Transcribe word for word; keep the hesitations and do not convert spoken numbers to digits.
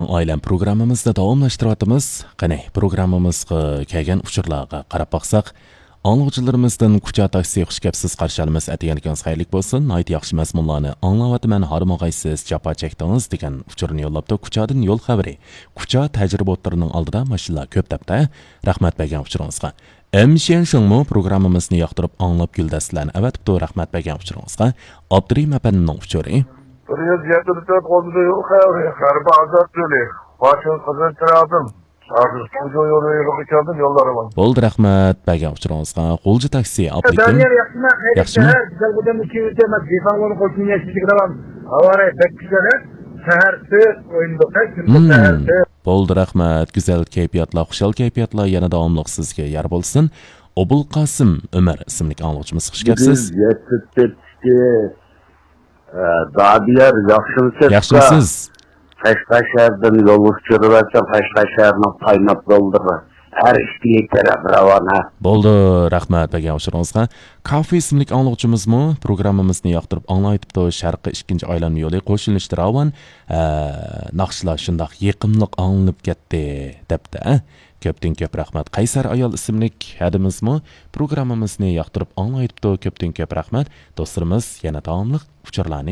ئائىلەم پروگراممىمىزنى داۋاملاشتۇرۇۋاتىمىز. قېنى، پروگراممىمىزغا كەلگەن ئۇچۇرلارغا قاراپ باقساق، ئاڭلىغۇچىلىرىمىزدىن كۇچا تاكسى خۇش كەپسىز قارشى ئالىمىز، ئەتىگەنلىكىڭىز خەيرلىك بولسۇن، ناھايىتى ياخشى مەزمۇنلارنى ئاڭلاۋاتىمەن، ھارمىغايسىز، جاپا چەكتىڭىز دېگەن ئۇچۇرنى يوللاپتۇ. كۇچادىن يول خەۋىرى. كۇچا تەجرىبە ئوتتۇرىنىڭ ئالدىدا ماشىنىلار كۆپ دەپتە. رەھمەت بەرگەن ئۇچۇرىڭىزغا. ئەمشيەن شېڭمۇ پروگراممىمىزنى ياقتۇرۇپ ئاڭلاپ گۈلدەستىلەرنى ئەۋەتىپتۇ. رەھمەت بەرگەن ئۇچۇرىڭىزغا. ئابدۇرېھىم ئەپەندىنىڭ ئۇچۇرى. بىر يۈز يەتتە تۆت قولدا يول خەۋىرى، غەربىي ئازاد يولى، باشىن قىزىل چىراغدىن، ھازىر تۇنجۇ يولى يولىغا كەلدىم، يوللار ئامان. بولدى، رەھمەت بەرگەن ئۇچۇرىڭىزغا. غۇلجا تاكسى، ئاپلىكىم. دانىيال، ياخشىمۇ؟ خەير، ياخشىمۇ؟ شەھەر، گۈزەل خوجام ئىككى يۈز ئەمەس، دېھقانلارنىڭ قوشۇن يەشىلىك دەۋام. ھاۋا رايى بەك گۈزەل، ھە؟ شەھەر سۈت، ئويۇندۇق، ھە؟ كۈندۈز شەھەر سۈت. بولدى، رەھمەت. گۈزەل كەيپىياتلار، خۇشال كەيپىياتلار يەنە داۋاملىق سىزگە يار بولسۇن. ئوبۇلقاسىم ئۆمەر ئىسىملىك ئاڭلىغۇچىمىز، خۇش كەپسىز. بىز يەتتە تۆتتىكى، ئە، دادىيار، ياخشىمۇسىز؟ ياخشىمۇسىز؟ قەشقەر شەھىرىدىن يولغا چۈشۈرۈۋەتسەم، قەشقەر شەھىرىنىڭ قايناپ يوللىرى ھەر ئىككى تەرەپ راۋان، ھە. بولدى، رەھمەت بەرگەن ئۇچۇرىڭىزغا. كافى ئىسىملىك ئاڭلىغۇچىمىزمۇ پروگراممىمىزنى ياقتۇرۇپ ئاڭلاۋېتىپتۇ. شەرقىي ئىككىنچى ئايلانما يولى قوشۇلۇشتا راۋان. ھە، ناخشىلار شۇنداق يېقىملىق ئاڭلىنىپ كەتتى، دەپتۇ، ھە. كۆپتىن كۆپ رەھمەت. قەيسەر ئايال ئىسىملىك ھەدىمىزمۇ پروگراممىمىزنى ياقتۇرۇپ ئاڭلاۋېتىپتۇ. كۆپتىن كۆپ رەھمەت. دوستلىرىمىز يەنە داۋاملىق ئۇچۇرلارنى